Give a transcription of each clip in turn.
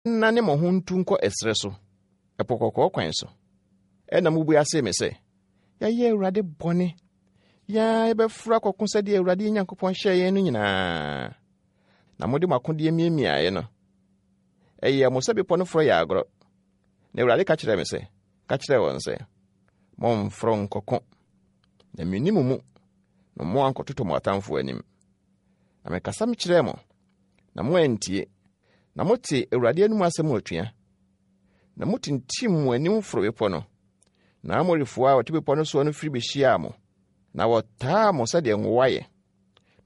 Monnane mo ho ntu nkɔ ɛserɛ so, Ɛpo Kɔkɔɔ kwan so. Ɛnna mobua see me sɛ, Yɛayɛ Awurade bɔne. Yɛn ara yɛbɛforo akɔko sɛdeɛ Awurade yɛn Nyankopɔn hyɛɛ yɛn no nyinaa. Na mode mo akodeɛ miamiaeɛ no, ɛyɛɛ mo sɛ bepɔ no forɔ yɛ agorɔ. Na Awurade ka kyerɛɛ me sɛ, Ka kyerɛ wɔn sɛ, 'Mommforo nkɔko, na menni mo mu, na moankɔtotɔ mo atamfoɔ anim. Na mekasa mekyerɛɛ mo, na moantie, na motee Awurade anom asɛm atua. Na motintim mo anim foro bepɔ no, na Amorifoɔ a wɔte bepɔ no soɔ no firi behyiaa mo, na wɔtaa mo sɛdeɛ nwowa yɛ,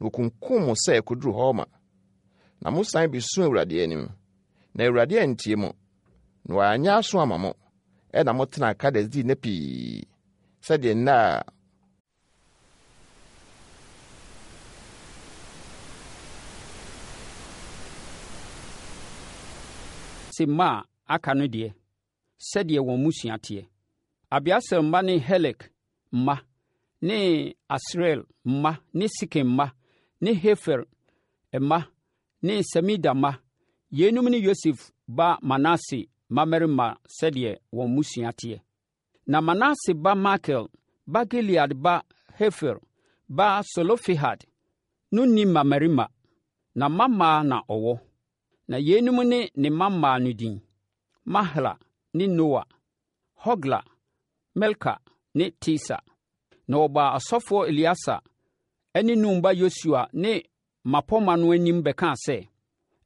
na wɔkunkum mo sɛ kɔduru Horma. Na mosan besuu Awurade anim, na Awurade antie mo, na wanyɛ aso ama mo, ɛnna motenaa Kades dii nna pii, sɛdeɛ nna a Se mma a aka no deɛ, sɛdeɛ wɔn mmusua teɛ. Abieser mma ne Helek mma ne Asriel mma ne Sekem mma ne Hefer mma ne Semida mma. Yeinom ne Yosef ba Manase mmammarima sɛdeɛ wɔn mmusua teɛ. Na Manase ba Makir ba Gilead ba Hefer ba Selofehad no nni mmammarima, na mmammaa na ɔwɔ. Na yeinom ne ne mmammaa no din, Mahla ne Noa, Hogla, Milka ne Tirsa. Na wɔbaa ɔsɔfoɔ Eleasa ne Nun ba Yosua ne mmapɔmma no anim bɛkaa sɛ,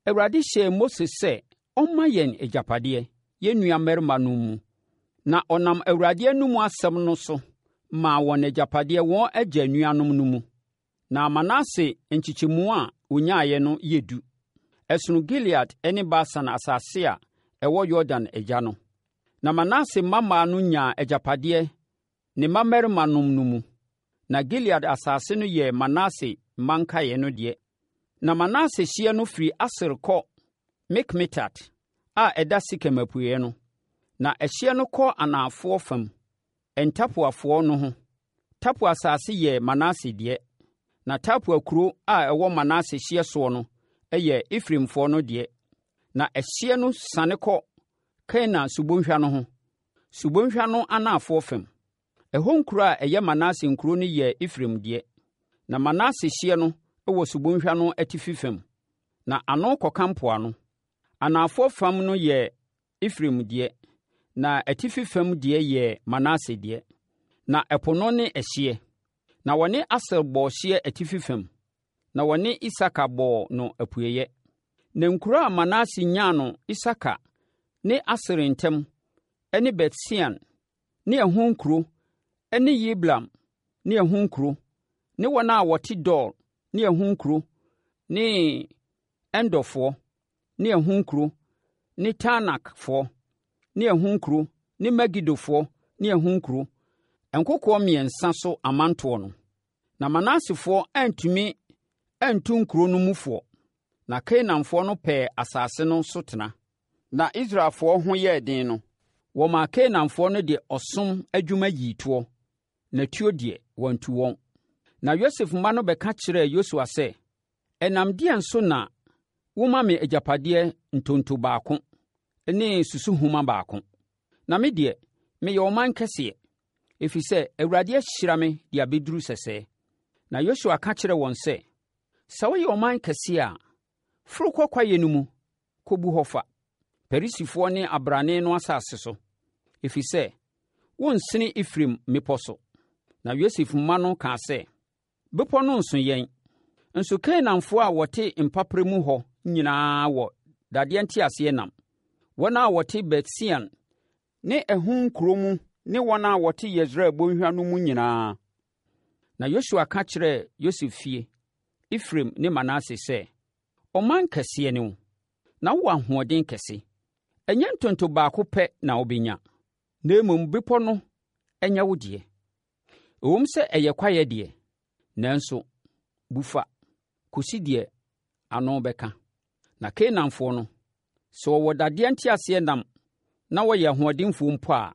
Awurade hyɛɛ Mose sɛ ɔmma yɛn agyapadeɛ, yɛn nuammarimanom mu. Na ɔnam Awurade anomu asɛm no so maa wɔn agyapadeɛ wɔn agya nuanom no mu. Na Manase nkyekyɛmu a ɔnyaeɛ no yɛ du. Ɛsono Gilead ne Basan asase a ɛwɔ Yordan agya no. Na Manase mmammaa no nyaa agyapadeɛ ne mmammarimanom no mu. Na Gilead asase no yɛɛ Manase mma nkaeɛ no deɛ. Na Manase hyeɛ no firi Aser kɔ Mikmetat a ɛda Sekem apueeɛ no. Na ɛhyeɛ no kɔ anafoɔ fam, En-Tapuafoɔ no ho. Tapua asase yɛɛ Manase deɛ. Na Tapua kuro a ɛwɔ Manase hyeɛ soɔ no yɛɛ Efraimfoɔ no deɛ. Na ɛhyeɛ no siane kɔ Kana subɔnhwa no ho, subɔnhwa no anafoɔ fam. Ɛhɔ nkuro a ɛyɛ Manase nkuro no yɛɛ Efraim deɛ. Na Manase hyeɛ no wɔ subɔnhwa no atifi fam, na ano kɔka mpoano. Anafoɔ fam no yɛɛ Efraim deɛ, na atifi fam deɛ yɛɛ Manase deɛ. Na ɛpo no ne ɛhyeɛ. Na wɔne Aser bɔɔ hyeɛ atifi fam, na wɔne Isakar bɔɔ no apueeɛ. Na nkuro a Manase nyaa no Isakar ne Aser ntam ne Bet-Sean ne ɛho nkuro ne Yibleam ne ɛho nkuro ne wɔn a wɔte Dor ne ɛho nkuro ne Endorfoɔ ne ɛho nkuro ne Taanakfoɔ ne ɛho nkuro ne Megidofoɔ ne ɛho nkuro, nkokoɔ mmiɛnsa so amantoɔ no. Na Manasefoɔ antumi antu nkuro no mufoɔ, na Kanaanfoɔ no pɛɛ asase no so tena. Na Israelfoɔ ho yɛɛ den no, wɔmaa Kanaanfoɔ no de ɔsom adwuma yii toɔ, na tuo deɛ, wɔantu wɔn. Na Yosef mma no bɛka kyerɛɛ Yosua sɛ, Ɛnam deɛn so na woma me agyapadeɛ ntonto baako ne susuhoma baako? Na me deɛ, meyɛ ɔman kɛseɛ, ɛfiri sɛ Awurade ahyira me de abɛduru sɛsɛɛ. Na Yosua ka kyerɛɛ wɔn sɛ, Sɛ woyɛ ɔman kɛseɛ a, foro kɔ kwaeɛ no mu kɔbu hɔ fa, Perisifoɔ ne abrane no asase so, ɛfiri sɛ wonsene Efraim mmepɔ so. Na Yosef mma no kaa sɛ, Bepɔ no nso yɛn. Nso Kanaanfoɔ a wɔte mpaperɛ mu hɔ nyinaa wɔ dadeɛ nteaseɛnam, wɔn a wɔte Bet-Sean ne ɛho nkuro mu ne wɔn a wɔte Yesreel bɔnhwa no mu nyinaa. Na Yosua ka kyerɛɛ Yosef fie, Efraim ne Manase sɛ, Ɔman kɛseɛ ne wo, na wowɔ ahoɔden kɛse. Ɛnyɛ ntonto baako pɛ na wobɛnya, na mmom bepɔ no nyɛ wo deɛ. Ɛwom sɛ ɛyɛ kwaeɛ deɛ, nanso bu fa kɔsi deɛ ano bɛka. Na Kanaanfoɔ no, sɛ wɔwɔ dadeɛ nteaseɛnam na wɔyɛ ahoɔdenfoɔ mpo a,